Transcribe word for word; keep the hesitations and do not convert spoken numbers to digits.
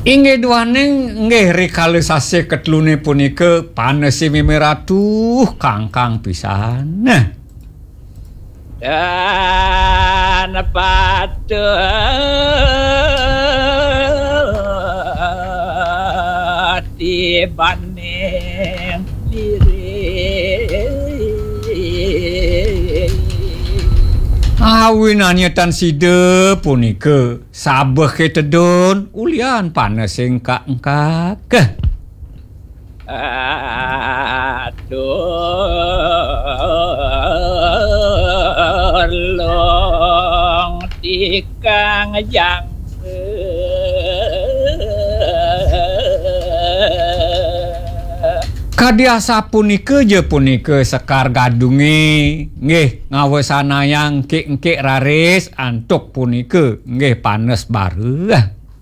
Inggih duaning, nggih, rikala sasih ketelune punika panese meme ratu kangkang pisan. Nah. Dan patut dibanding diri. Awinannya tan sida punika sabehe tedun ulian panesing kaengkak. Atur long tikang jangka. Kadi asapunika ja punika Sekar Gadunge, nggih, ngawesanayang engkik-engkik raris antuk punika, nggih, panes bareh.